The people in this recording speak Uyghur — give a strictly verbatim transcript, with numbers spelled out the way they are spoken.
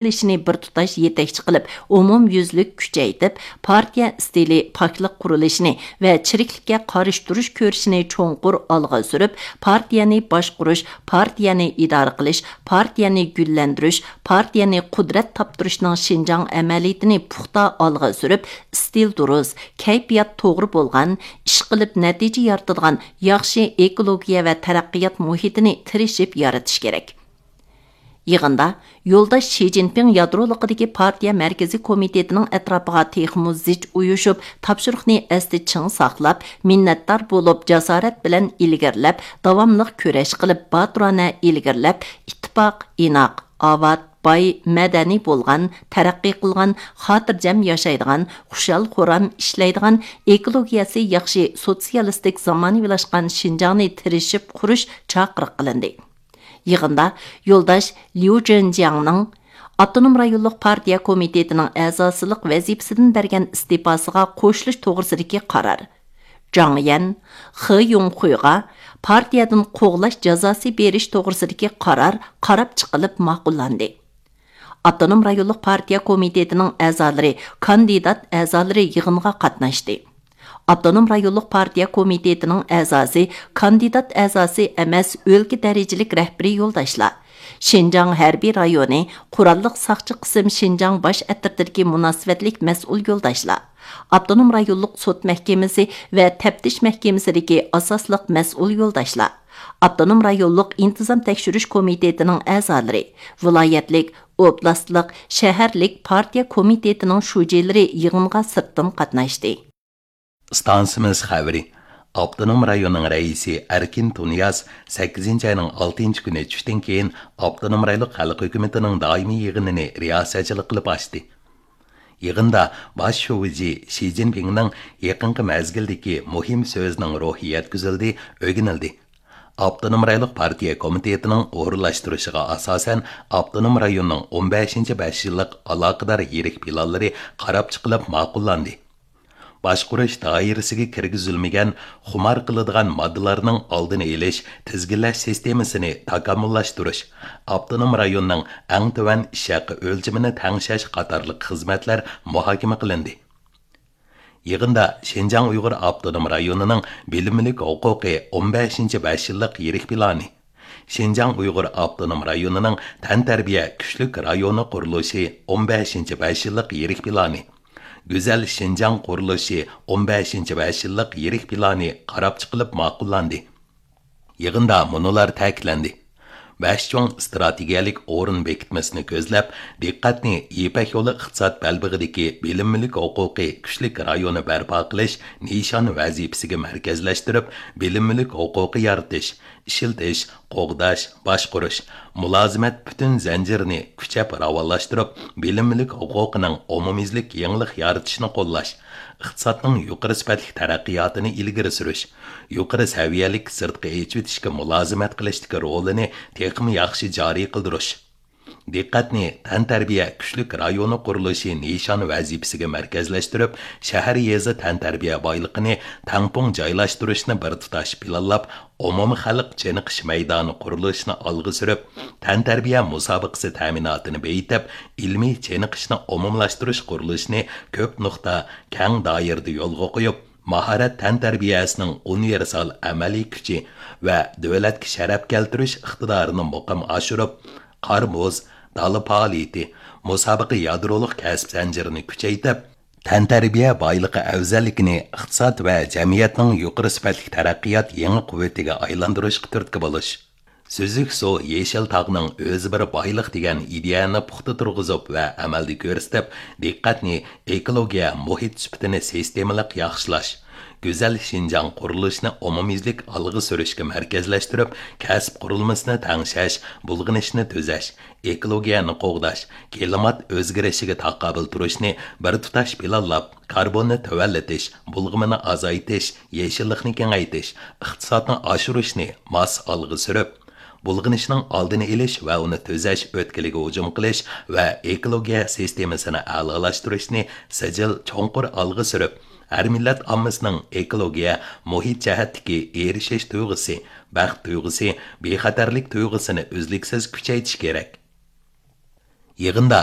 قىلىشنى بىر تۇتاش يېتەكچى قىلىپ، ئومۇميۈزلۈك كۈچەيتىپ، پارتىيە ئىستىلى پاكلىق قۇرۇلۇشىنى ۋە چىرىكلىككە قارشى تۇرۇش كۈرىشىنى چوڭقۇر ئالغا سۈرۈپ، پارتىيەنى باشقۇرۇش، پارتىيەنى ئىدارە قىلىش، پارتىيەنى گۈللەندۈرۈش، پارتىيەنى قۇدرەت تاپتۇرۇشنىڭ شىنجاڭ ئەمەلىيىتىنى پۇختا ئالغا سۈرۈپ، ئىستىل دۇرۇس، كەيپىيات توغرا بولغان، ئىشقىلىپ نەتىجە يارىتىدىغان ياخشى ئېكولوگىيە ۋە تەرەققىيات مۇھىتىنى تىرىشىپ يارىتىش كېرەك. يىغىندا يولداش شى جىنپىڭ يادرولۇقىدىكى پارتىيە مەركىزىي كومىتېتىنىڭ ئەتراپىغا تېخىمۇ زىچ ئۇيۇشۇپ، تاپشۇرۇقنى ئەستە چىڭ ساقلاپ، مىننەتدار بولۇپ، جاسارەت بىلەن ئىلگىرىلەپ، داۋاملىق كۈرەش قىلىپ، باتۇرانە ئىلگىرىلەپ، ئىتتىپاق، ئىناق، ئاۋات، باي، مەدەنىي بولغان، تەرەققىي قىلغان، خاتىرجەم ياشايدىغان، خۇشال-خۇرام ئىشلەيدىغان، ئېكولوگىيەسى ياخشى، سوتسىيالىستىك زامانىۋىلاشقان شىنجاڭنى تىرىشىپ قۇرۇش چاقىرىق قىلىندى. يىغىندا يولداش ليۇ جېنجياڭنىڭ ئاپتونوم رايونلۇق پارتىيە كومىتېتىنىڭ ئەزاسىلىق ۋەزىپىسىدىن بەرگەن ئىستېپاسىغا قوشۇلۇش توغرىسىدىكى قارار، جاڭ يەن خې يۇڭخۇيغا پارتىيەدىن قوغلاش جازاسى بېرىش توغرىسىدىكى قارار قاراپ چىقىلىپ ماقۇللاندى. ئاپتونوم رايونلۇق پارتىيە كومىتېتىنىڭ ئەزالىرى، كاندىدات ئەزالىرى يىغىنغا قاتناشتى. ئاپتونوم رايونلۇق پارتىيە كومىتېتىنىڭ ئەزاسى، كاندىدات ئەزاسى ئەمەس، ئۆلكە دەرىجىلىك رەھبىرىي يولداشلار، شىنجاڭ ھەربىي رايونى قوراللىق ساقچى قىسىم شىنجاڭ باش ئەترىتىدىكى مۇناسىۋەتلىك مەسئۇل يولداشلار، ئاپتونوم رايونلۇق سوت مەھكىمىسى ۋە تەپتىش مەھكىمىسىدىكى ئاساسلىق مەسئۇل يولداشلار، ئاپتونوم رايونلۇق ئىنتىزام تەكشۈرۈش كومىتېتىنىڭ ئەزالىرى، ۋىلايەتلىك، ئوبلاستلىق، شەھەرلىك پارتىيە كومىتېتىنىڭ شۇجىلىرى يىغىنغا سىرتتىن قاتناشتى. ئىستانسىمىز خەۋىرى. ئاپتونوم رايوننىڭ رەئىسى ئەركىن تۇنىياز سەككىزىنچى ئاينىڭ ئالتىنچى كۈنى چۈشتىن كېيىن ئاپتونوم رايونلۇق خەلق ھۆكۈمىتىنىڭ دائىمىي يىغىنىنى رىياسەتچىلىك قىلىپ ئاچتى. يىغىندا باش شۇجى شى جىنپىڭنىڭ يېقىنقى مەزگىلدىكى مۇھىم سۆزىنىڭ روھى يەتكۈزۈلدى، ئۆگىنىلدى. ئاپتونوم رايونلۇق پارتىيە كومىتېتىنىڭ ئورۇنلاشتۇرۇشىغا ئاساسەن، ئاپتونوم رايوننىڭ ئون بەشىنچى بەش يىللىق ئالاقىدار يىرىك پىلانلىرى قاراپ چىقىلىپ ماقۇللاندى. باشقۇرۇش دائىرىسىگە كىرگۈزۈلمىگەن خۇمار قىلىدىغان ماددىلارنىڭ ئالدىنى ئېلىش، تىزگىنلەش سىستېمىسىنى تاكامۇللاشتۇرۇش، ئاپتونوم رايوننىڭ ئەڭ تۆۋەن ئىش ھەققى ئۆلچىمىنى تەڭشەش قاتارلىق خىزمەتلەر مۇھاكىمە قىلىندى. يىغىندا شىنجاڭ ئۇيغۇر ئاپتونوم رايونىنىڭ بىلىم مۈلۈك ھوقۇقى ئون بەشىنچى بەش يىللىق يىرىك پىلانى، شىنجاڭ ئۇيغۇر ئاپتونوم رايونىنىڭ تەنتەربىيە كۈچلۈك رايونى قۇرۇلۇشى ئون بەشىنچى بەش يىللىق يىرىك پىلانى، گۈزەل شىنجاڭ قۇرۇلۇشى ئون بەشىنچى بەش يىللىق يىرىك پىلانى قاراپ چىقىلىپ ماقۇللاندى. يىغىندا مۇنۇلار تەكىتلەندى. بەش چوڭ ئىستراتېگىيەلىك ئورۇن بېكىتمىسىنى كۆزلەپ، دىققەتنى يىپەك يولى ئىقتىساد بەلبېغىدىكى بىلىم مۈلۈك ھوقۇقى كۈچلۈك رايونى بەرپا قىلىش نىشان ۋەزىپىسىگە مەركەزلەشتۈرۈپ، بىلىم مۈلۈك ھوقۇقى يارىتىش، ئىشلىتىش، قوغداش، باشقۇرۇش، مۇلازىمەت پۈتۈن زەنجىرىنى كۈچەپ راۋانلاشتۇرۇپ، بىلىم مۈلۈك ھوقۇقىنىڭ ئومۇميۈزلۈك يېڭىلىق يارىتىشىنى قوللاش، ئىقتىسادنىڭ يۇقىرى سۈپەتلىك تەرەققىياتىنى ئىلگىرى سۈرۈش، يۇقىرى سەۋىيەلىك سىرتقا ئېچىۋېتىشكە مۇلازىمەت قىلىشتىكى رولىنى تېخىمۇ ياخشى جارى قىلدۇرۇش، دىققەتنى تەنتەربىيە كۈچلۈك رايونى قۇرۇلۇشى نىشان ۋەزىپىسىگە مەركەزلەشتۈرۈپ، شەھەر، يېزا تەنتەربىيە بايلىقىنى تەڭپۇڭ جايلاشتۇرۇشنى بىر تۇتاش پىلانلاپ، ئومۇمىي خەلق چېنىقىش مەيدانى قۇرۇلۇشىنى ئالغا سۈرۈپ، تەنتەربىيە مۇسابىقىسى تەمىناتىنى بېيىتىپ، ئىلمىي چېنىقىشنى ئومۇملاشتۇرۇش قۇرۇلۇشىنى كۆپ نۇقتا، كەڭ دائىرىدە يولغا قويۇپ، ماھارەت تەنتەربىيەسىنىڭ ئۇنىۋېرسال ئەمەلىي كۈچى ۋە دۆلەتكە شەرەپ كەلتۈرۈش ئىقتىدارىنى مۇقىم ئاشۇرۇپ، قار-مۇز، دالا پائالىيىتى، مۇسابىقە يادرولۇق كەسىپ زەنجىرىنى كۈچەيتىپ، تەنتەربىيە بايلىقى ئەۋزەللىكىنى ئىقتىساد ۋە جەمئىيەتنىڭ يۇقىرى سۈپەتلىك تەرەققىيات يېڭى قۇۋۋىتىگە ئايلاندۇرۇشقا تۈرتكە بولۇش. سۈزۈك سۇ يېشىل تاغنىڭ ئۆزى بىر بايلىق دېگەن ئىدىيەنى پۇختا تۇرغۇزۇپ ۋە ئەمەلدە كۆرسىتىپ، دىققەتنى ئېكولوگىيە، مۇھىت سۈپىتىنى سىستېمىلىق ياخشىلاش، گۈزەل شىنجاڭ قۇرۇلۇشىنى ئومۇميۈزلۈك ئالغا سۈرۈشكە مەركەزلەشتۈرۈپ، كەسىپ قۇرۇلمىسىنى تەڭشەش، بۇلغىنىشنى تۈزەش، ئېكولوگىيەنى قوغداش، كىلىمات ئۆزگىرىشىگە تاقابىل تۇرۇشنى بىر تۇتاش پىلانلاپ، كاربوننى تۆۋەنلىتىش، بۇلغىمىنى ئازايتىش، يېشىللىقنى كېڭەيتىش، ئىقتىسادنى ئاشۇرۇشنى ماس ئالغا سۈرۈپ، بۇلغىنىشنىڭ ئالدىنى ئېلىش ۋە ئۇنى تۈزەش ئۆتكىلىگە ھۇجۇم قىلىش ۋە ئېكولوگىيە سىستېمىسىنى ئەلالاشتۇرۇشنى سىجىل چوڭقۇر ئالغا سۈرۈپ، ھەر مىللەت ئاممىسىنىڭ ئېكولوگىيە، مۇھىت جەھەتتىكى ئېرىشىش تۇيغۇسى، بەخت تۇيغۇسى، بىخەتەرلىك تۇيغۇسىنى ئۈزلۈكسىز كۈچەيتىش كېرەك. يىغىندا